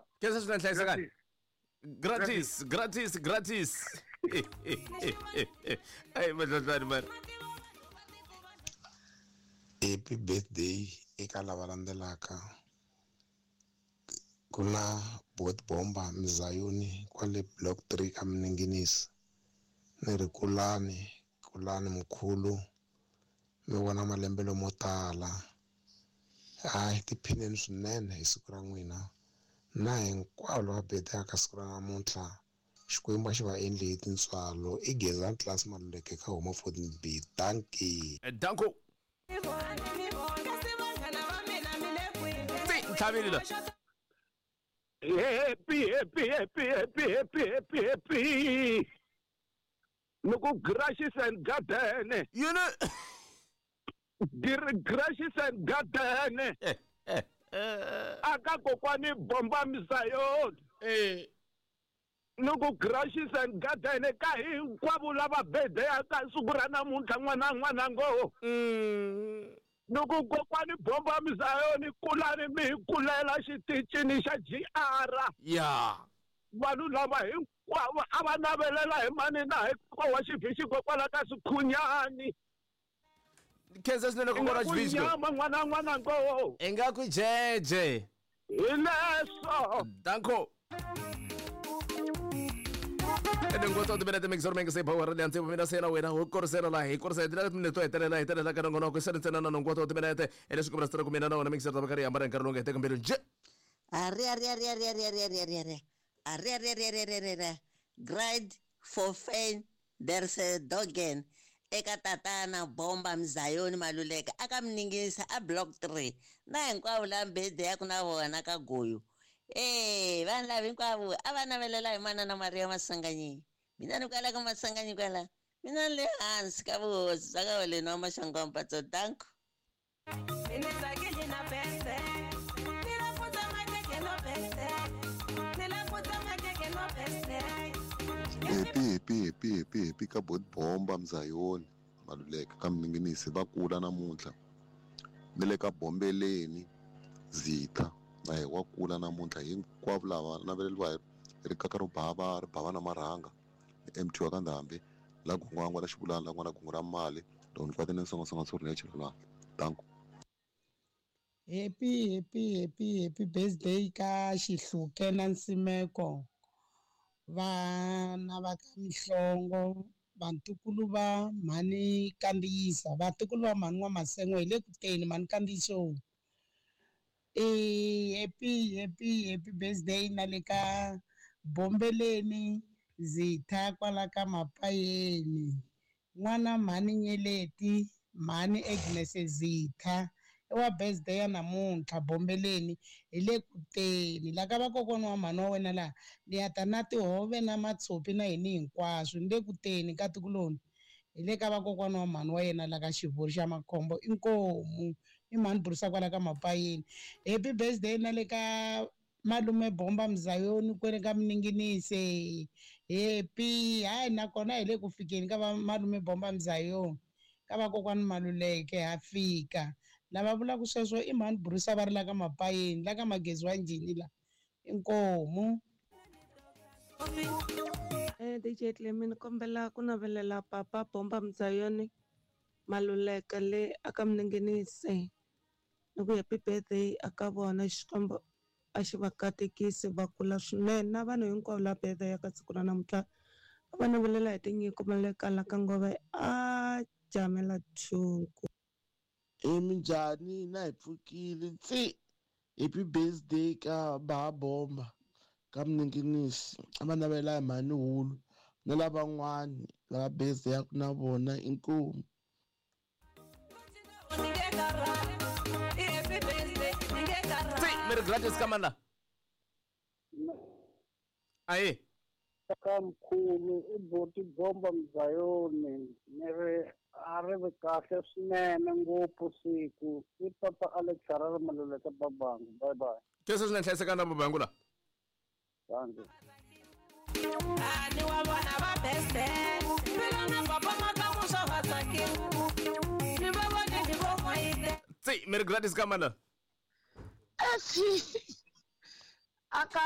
bye. Khensa swinene hlayisekani. Gratis, gratis, gratis. Ai madlodlani mara. Happy birthday eka lava landzelaka. Ku na Bot Bomba Mzayoni kwale block 3 ka Mninginisi. Ni ri kulani, kulani mkhulu. Mi vona malembe lomo tala. Hayi tiphineni swinene hi siku ra n'wina. Na hinkwavo lava bedaka siku ra namuntlha. Xikwembu a xi va endli hi tintswalo. I Gezani Class Maluleke ka Huma 14B. Dankie. Danko. Tsi, ntlhavile la. Happy, happy, happy, happy, happy, happy, happy. Loko Gracious and Garden. Yini? Gracious and Garden. Aka kokwani Bomba Mzayoni. Loko Gracious and Garden ka hinkwavo lava birthday ka siku ra namuntlha n'wana n'wana ngo. Loko kokwani Bomba Mzayoni kulani mi hi kulela xitichini xa GR. Ya. Vanhu lava hinkwavo a va navelela hi mani na hi wa xivhixi kokwala ka Sikhunyani. Khensa swinene kokwana Xivhixi. Nyama n'wana n'wana ngo. Ingaku jeje. Hi leswo. Danko. Ene ngotso timinete mixor mengese power le antse mina sena wena ho korsela la hi korsela dila timinete to hetelela hi telela ka nongonoko se ntsena na nongotso timinete ene swi kombela ku mina na wona mixer ta bakari hambana nkarhi lowu nga heteka mbilu nje. Ari ari ari ari ari ari ari ari ari ari ari ari ari ari ari grade for fan there's a dogen eka tatana Bomba Mzayoni Maluleke aka Mningisa a block 3 na hinkwavo la mbede ya ku na vona ka goyo. Vanhu lava hinkwavo a va navelela hi manana Maria Masanganyi. Mina ni kwala ka Masanganyi kwala. Mina ni le hansi ka vuhosi bya ka Holeni wa Maxangu Mpatso. Danko. Happy, happy, happy, happy, happy ka Bot Bomba Mzayoni Maluleke ka Mninginisi va kula namuntlha. Ni le ka Bombeleni Zitha na hi wa kula namuntlha hinkwavo lava naveleriwa hi rikaka ro bava ri bava na marhanga ni MT wa ka Ndhambi la gungwangwa la xivulana la n'wana gungu ra mali loko ni kwate ni nsongasonga tsuri ni ya chela danko. Happy, happy, happy, happy birthday ka Xihluke na Nsimeko. Vana va ka Mihlongo, vantukulu va mhani Kandziyisa, vatukulu va mhani wa Masengo hi le ku teni mhani Kandziyiso. Happy, happy, happy birthday na le ka Bombeleni Zitha kwala ka Mapayeni. N'wana mhani Nyeleti, mhani Agnes Zitha. I wa birthday ya namuntlha Bombeleni hi le ku teni la ka vakokwana wa mhani wa wena laha ni ya ta na tihove na matshopi na yini hinkwaswo ni le ku teni ka tikuloni hi le ka vakokwana wa mhani wa yena la ka Xivuri xa Makhombo inkomu i mhani burisa kwala ka Mapayeni. Happy birthday na le ka malume Bomba Mzayoni kwele ka Mninginise. Happy hayi nakona hi le ku fikeni ka va malume Bomba Mzayoni ka vakokwana Maluleke ha fika. Lava vulaka sweswo i mhani burisa va ri la ka Mapayeni la ka Magezi wa Njhini la inkomu. DJ Clemi ni kombela ku navelela papa Bomba Mzayoni Maluleke le aka Mninginisi ni ku happy birthday aka vona Xikwembu a xi va katekisi va kula swinene na vanhu hinkwavo la birthday ka siku ra namuntlha a va navelela hi tinyiko Maluleke la ka Ngove a jamela thunku. Minjhani na hi pfukile tsi happy birthday ka ba Bomba ka Mninginisi a va navela hi mhani hulu na lavan'wani lava birthday ya ku na vona inkomu. Tsi, mi ri gratis ka mani la? Ayi. Ka mkhulu i Boti Bomba Mzayoni ni ri a ri vi kahle swinene ngopfu siku i papa Alex Harare Maluleke Babangu. Bye bye. Khensa swinene hlayisekani na Babangu la. Danko. Ani wa vona va birthday phela na papa makamu swa va tsakile ni va vone ni vo n'wayite. Tsi, mi ri gratis ka mani la? Aka